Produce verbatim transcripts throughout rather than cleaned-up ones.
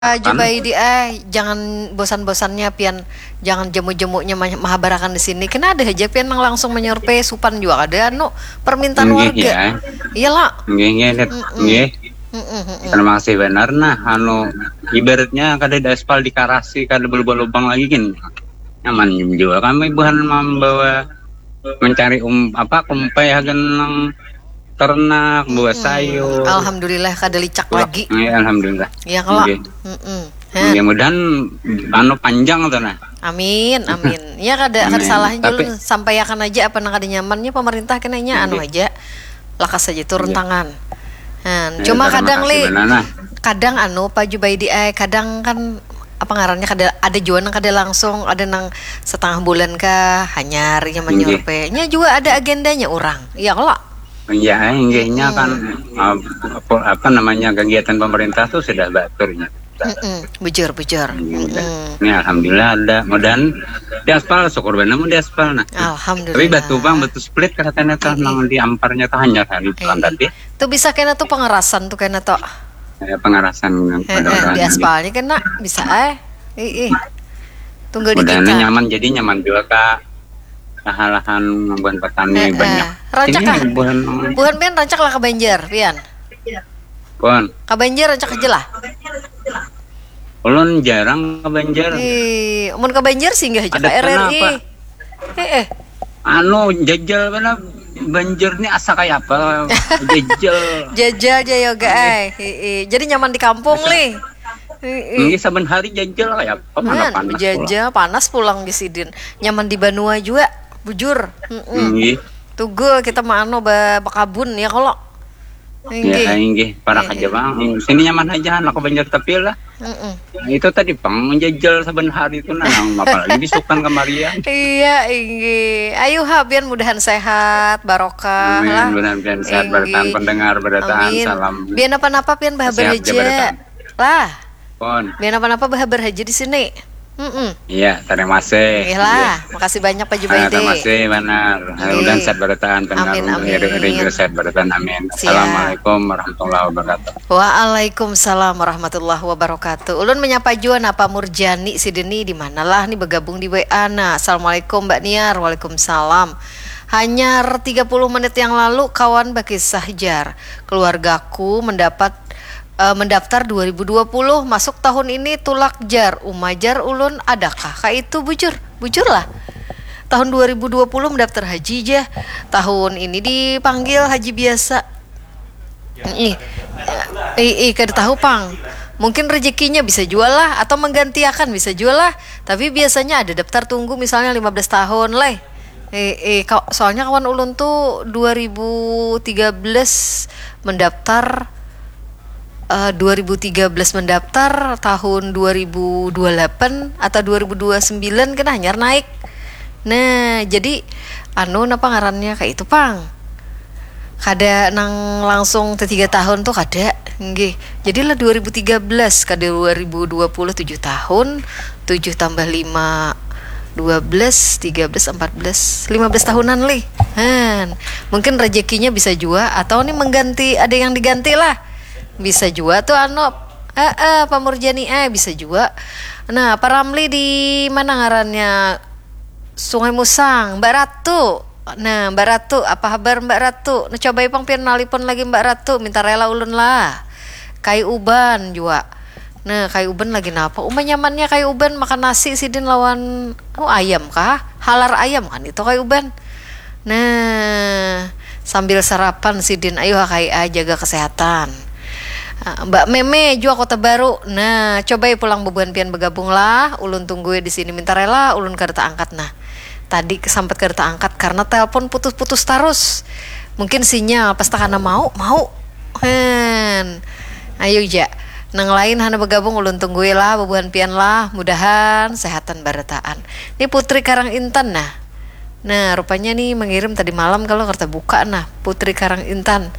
Pak Jubaidi, eh, jangan bosan-bosannya pian, jangan jemu-jemunya ma- mahabarakan di sini. Kena ada aja pian nang langsung menyurvei supan juga ada anu permintaan Nggih, warga. Ya. Iyalah. Nggih, nggih, Dep. Mm-mm. Nggih. Mm-mm, mm-mm. Terima kasih benar. Nah, anu, ibaratnya kada ada aspal di karasi, kada berlubang-lubang lagi gin. Nyaman juga kami buhan membawa mencari um apa kumpai hagan nang ternak, bawa sayur. Alhamdulillah kada licak Pulang. Lagi. Ya, alhamdulillah. Ya kalau. Nggih. Mm-mm. Mudah-mudahan anu panjang tuh nah. Amin, amin. Ya kada kada Amin. Salah Tapi- Julun, sampaikan aja apa nang kada nyamannya pemerintah kena nya anu Nggih. Aja. Lakas aja turun Nggih. Tangan. Nah, Ya, cuma terima kadang kasih Li, benar, nah. Kadang anu Pak Jubaidi, eh, kadang kan apa ngarannya kada ada jua nang kada langsung, ada nang setengah bulan kah hanyar ya Nggih. Menyurvei. Nya juga ada agendanya orang. Iya kalau. Ya, inggihnya kan uh, apa, apa namanya kegiatan pemerintah tuh sudah baturnya. Mm-mm, bujur bujur. Mm-mm. Ini alhamdulillah ada. Mudahan di aspal, syukur benar mun di aspal nah. Alhamdulillah. Tapi batu bang, batu split katanya tuh nang diamparnya tuh hanyar hari Iya. Tadi. Tuh bisa kena tuh pengerasan tuh kena tuh. Ya, pengerasan yang Eh, pada eh, orang di ini. Aspalnya kena bisa eh. Ih, ih. Tunggal di Mudahan kita. Nyaman, jadi nyaman juga kak. Lahan-lahan buhan petani Eh, eh. Banyak. Rancak Ini kah? Buhan Buhan pian rancak lah ke Banjar pian. Buhan. Ke Banjar rancak aja lah. Ulun jarang ke Banjar. Ih, mun ke Banjar singgah aja Ada ke R R I. kenapa? Eh, eh. Anu jajal mana Banjar ni asa kayak apa? Jajal. Jajal aja yoga eh. Heeh. Jadi nyaman di kampung Li. Heeh. Ini saban hari jajal kayak apa? Mana Man, panas jajal panas pulang di sidin. Nyaman di banua juga, bujur. Heeh. Nggih. Tugul kita mah anu ba- bakabun ya kalau. Ya, inggih, parak aja bang. Sini nyaman aja anak ke Banjar tapi lah. Mm-mm. Nah, itu tadi pang menjajal saban hari itu nah, apalagi bisukan kemarian. Iya, inggih. Ayo ha, pian mudahan sehat, barokah Amin, lah. Mudahan pian sehat, barataan Inggih. Pendengar, barataan Amin. Salam. Biar apa-apa pian bahabar Sehat aja. Barataan. Lah, Pon. Biar apa-apa bahabar aja di sini. Mm-mm. Iya, terima kasih. Iya lah, makasih banyak Pak Ah, Jubaidi. terima kasih benar. Nggih. Mudahan sehat barataan, pendengar Amin, amin. Iri, iri juga sehat barataan. Amin. Siap. Assalamualaikum warahmatullahi wabarakatuh. Waalaikumsalam warahmatullahi wabarakatuh. Ulun menyapa jua napa Murjani sidini di mana lah ni bergabung di W A nah. Assalamualaikum Mbak Niar. Waalaikumsalam. Hanyar tiga puluh menit yang lalu kawan bakisah jar. Keluargaku mendapat eh, mendaftar dua ribu dua puluh, masuk tahun ini tulak jar. Uma jar ulun adakah kaitu bujur? Bujur lah. Tahun dua ribu dua puluh mendaftar haji jah. Tahun ini dipanggil haji biasa. Ih, ih, kada tahu pang. Mungkin rezekinya bisa jua lah atau menggantiakan bisa jua lah. Tapi biasanya ada daftar tunggu misalnya lima belas tahun leh. Eh, eh, ka- soalnya kawan ulun tuh dua ribu tiga belas mendaftar eh, dua ribu tiga belas mendaftar tahun dua ribu dua puluh delapan atau dua ribu dua puluh sembilan kena hanyar naik. Nah, jadi anu napa ngarannya kayak itu pang. Kada nang langsung te tiga tahun tuh kada. Nggih. Jadilah dua ribu tiga belas ka dua ribu dua puluh tujuh tahun, tujuh tambah lima dua belas, tiga belas, empat belas, lima belas tahunan lih. Han, mungkin rezekinya bisa jua atau nih mengganti ada yang diganti lah. Bisa jua tuh anu eh eh Pak Murjani eh bisa jua. Nah, Pak Ramli di mana ngarannya? Sungai Musang, Mbak Ratu. Nah, Mbak Ratu, apa habar Mbak Ratu? Nah, coba ipang pian nalipun lagi Mbak Ratu, minta rela ulun lah. Kai uban jua. Nah, kai uban lagi napa? Uma nyamannya kai uban makan nasi sidin lawan oh, ayam kah? Halar ayam kan itu kai uban. Nah, sambil sarapan sidin ayo kai ah, jaga kesehatan. Ah, Mbak Meme jua Kota Baru. Nah, coba ya pulang bebuhan pian bergabung lah. Ulun tunggu ya di sini minta rela, ulun kada angkat nah. Tadi kesampat kada angkat karena telepon putus-putus terus. Mungkin sinyal pas takana mau, mau. Hen. Ayo ja. Nang lain hana bergabung ulun tunggui lah bebuhan pian lah. Mudahan sehatan barataan. Ini Putri Karang Intan nah. Nah, rupanya nih mengirim tadi malam kalau kerta buka nah Putri Karang Intan.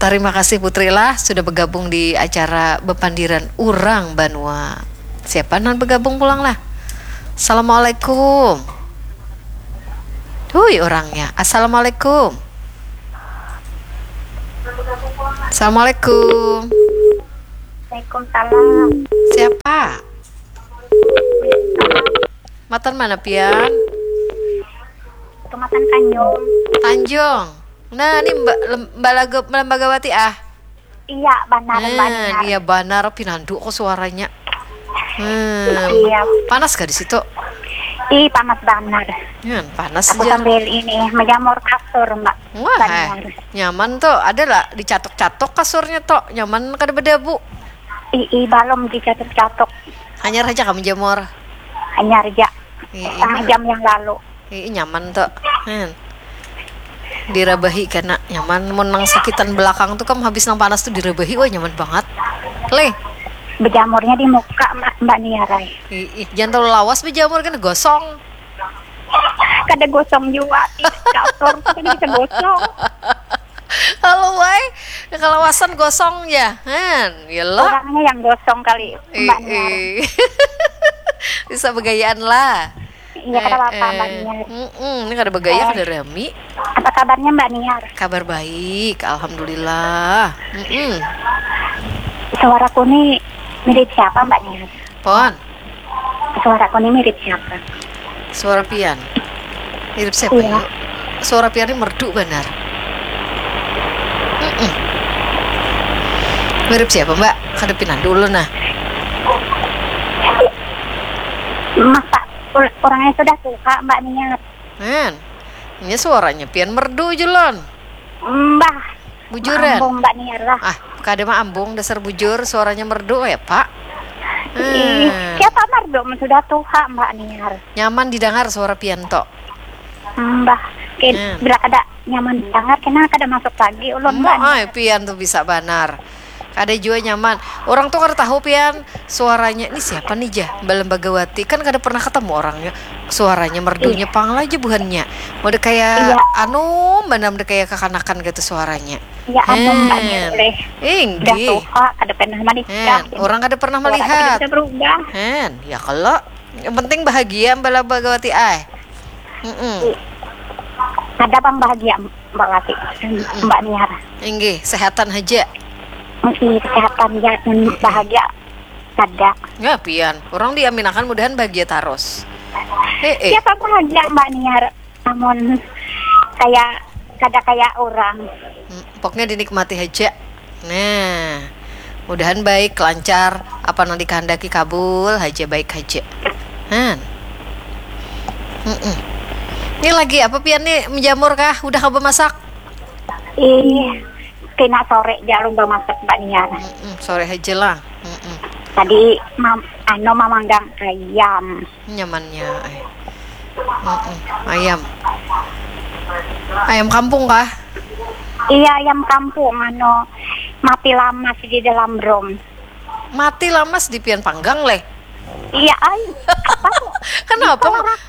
Terima kasih Putri lah sudah bergabung di acara Bepandiran Urang Banua. Siapa nan bergabung pulang lah? Assalamualaikum. Hui orangnya. Assalamualaikum. Assalamualaikum. Waalaikumsalam. Siapa? Matan mana pian? Tumatan Tanjung. Tanjung. Nah, ini Mbak Lem- Mbak Lagu Lembagawati ah. Iya, benar Mbak Nah, Niar. Iya benar pinandu kok suaranya. Hmm. Iya. Panas gak di situ? Ih, panas benar. Hmm, panas Aku aja. Sambil ini menjamur kasur, Mbak. Wah, Mbak eh, Niar. Nyaman tuh. Ada lah dicatok-catok kasurnya tuh. Nyaman kada berdebu. Ih, ih, belum dicatok-catok. Hanyar aja kamu jamur. Hanyar aja. Iya, Setengah jam yang lalu. Ih, nyaman tuh. Hmm. Dirabahi kena nyaman. Mun nang sakitan belakang tuh kam habis nang panas tuh dirabahi, wah nyaman banget. Leh. Berjamurnya di muka, Mbak, Mbak Niar. Ai. Ih, ih, jangan terlalu lawas berjamur kan gosong. Kada gosong juga. Ih, kasur kan bisa gosong. Kalau wai kelawasan gosong ya. Han, ya lah. Orangnya yang gosong kali, Eh, Mbak Niar. eh. Bisa begayaan lah. Iya, kada apa-apa, Mbak Eh, Niar. mm-mm, ini kada begaya Eh. kada rami. Apa kabarnya, Mbak Niar? Kabar baik, alhamdulillah. Mm-mm. Suaraku nih mirip siapa, Mbak Niar? Pon, Suaraku nih mirip siapa? Suara pian. Mirip siapa Iya. Yuk? Suara pian ini merdu benar. Mm-mm. Mirip siapa, Mbak? Kada pinandu ulun nah. Masa ul- orangnya sudah tua, Mbak Niar? Men, ini suaranya pian merdu julon. Mbah. Bujuran. Ambung, Mbak Niar lah. Ah, kada mah ambung dasar bujur, suaranya merdu ya, Pak. Ih, Hmm. Siapa merdu mun sudah tua, Mbak Niar? Nyaman didengar suara pian tok. Mbah, kin, Hmm. Bila kada nyaman didengar, kena kada masuk lagi ulun, Mbak Niar. Ay, pian tuh bisa banar. Kada jua nyaman. Orang tuh kada tahu pian suaranya ini siapa nih jah, Mbak Lembagawati. Kan kada pernah ketemu orangnya. Suaranya merdunya pang lah aja buhannya. Udah kayak Iya. Anu, mana udah kayak kekanakan gitu suaranya. Ya ampun, Mbak Niar, Hen. Leh. Eh, Udah nggih. Tua, kada pernah menikah. Hen, orang kada pernah Suara melihat. Bisa berubah. Hen, ya kalau yang penting bahagia Mbak Lembagawati ay. Mm-mm. Ada bang bahagia, Mbak Wati, Mbak Niar. Inggih, sehatan aja. Mesti kesehatan ya, dan bahagia. Kada. Ya pian, orang diaminakan mudahan bahagia terus. Eh, eh. Siapa bahagia, Mbak Niar? Namun kayak kada kayak orang. Hmm, pokoknya dinikmati aja. Nah, mudahan baik, lancar, apa yang dikehendaki kabul aja, baik aja. Han. Mm-mm. Ini lagi apa pian nih, menjamur kah? Udah kah bemasak? Ih, kena sore jalur bemasak, Mbak Niar. Mm-mm, sore aja lah. Mm-mm. Tadi mam, ano mamanggang ayam. Nyamannya ay. Mm-mm. Ayam. Ayam kampung kah? Iya, ayam kampung, ano mati lamas di dalam drum. Mati lamas di pian panggang leh. Iya, ay, apa tuh? Kenapa? Ditolak.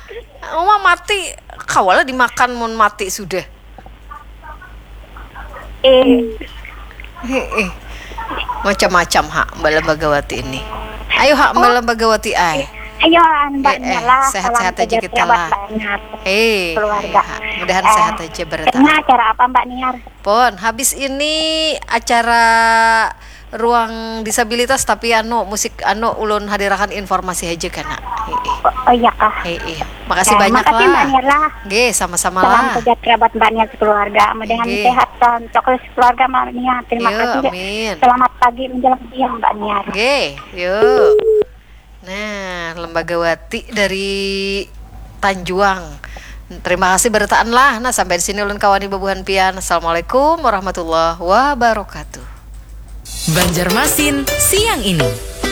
Uma mati, kawala dimakan mun mati sudah. Eh, Heeh. Macam-macam hak Mbak Lembagawati ini. Ayo hak Mbak Lembagawati ay. Ayo, Mbak Eh, eh, Niar lah, sehat-sehat salam aja kita sejahtera lah. buat Mbak Niar. Eh, Keluarga. Iya, mudahan Eh, sehat aja bertahan. Ini acara apa, Mbak Niar? Pon, habis ini acara ruang disabilitas, tapi anu musik anu ulun hadirakan informasi aja kena. Heeh. Oh, oh iya kah? Heeh. Makasih Eh, banyak makasih, lah. Mbak Niar lah. Nggih, sama-sama Salam lah. Sejahtera buat Mbak Niar sekeluarga. Mudahan Nggih. Sehat terus keluarga, Mbak Niar. Terima Yo, kasih. Amin. Selamat pagi menjelang siang, Mbak Niar. Nggih, yuk. Nah, Lembagawati dari Tanjuang. Terima kasih bertaan lah. Nah, sampai di sini ulun kawani babuhan pian. Assalamualaikum warahmatullahi wabarakatuh. Banjarmasin siang ini.